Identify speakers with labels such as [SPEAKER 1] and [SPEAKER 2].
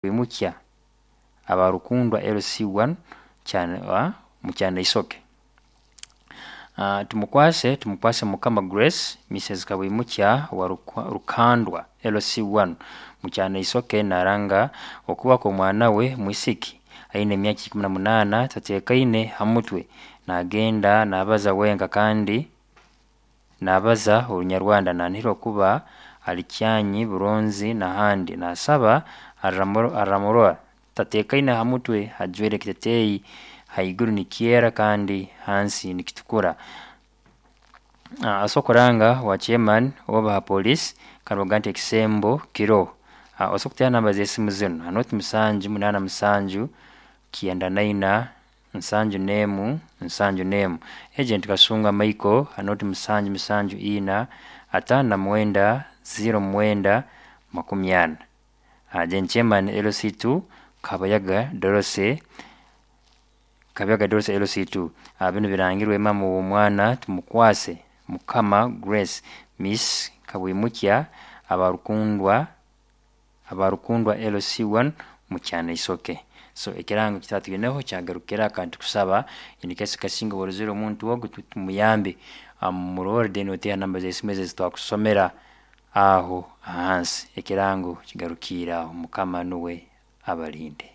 [SPEAKER 1] Kabwimukya aba Rukundwa LC1 Mukyanaisoke. Tumukwase Mukama Grace, Mrs. Kabwimukya wa Rukandwa LC1 Mukyanaisoke naranga okuba kw'omwana we mwisiki aine emyaka 18, tateekaine ha mutwe, naagenda naabaza wenka kandi naabaza Orunyarwanda, nanihira okuba ali Kyanyi, Buronzi n'ahandi. Naasaba aramurora tateekaine ha mutwe, ajwaire ekiteeteeyi haiguru nikyera kandi hansi nikitukura. Asobola kuranga owa chairman oba ha police kandi nibagamba nti ekisembo kiroho. Osobola kuteera namba z'esimu zinu: 0787 94 71 71. Agent Kasunga Michael 0774 59 09 40. Then chairman LC2 Kabayaga Dorothy, Kabayaga Dorothy LC2. Binu birangirwe maama w'omwana Tumukwase Mukama Grace, Miss Kabwimukya aba Rukundwa LC1 Mukyanaisoke. So ekirango eki tukaba twineho kyagarukira kandi tukusaba in case kasinga oba orozere omuntu ogu tumuyambe, murole then oteere namba z'esimu ezi twakusomera aho hansi. Ekirango kigarukiire aho, Mukama nuwe abalinde.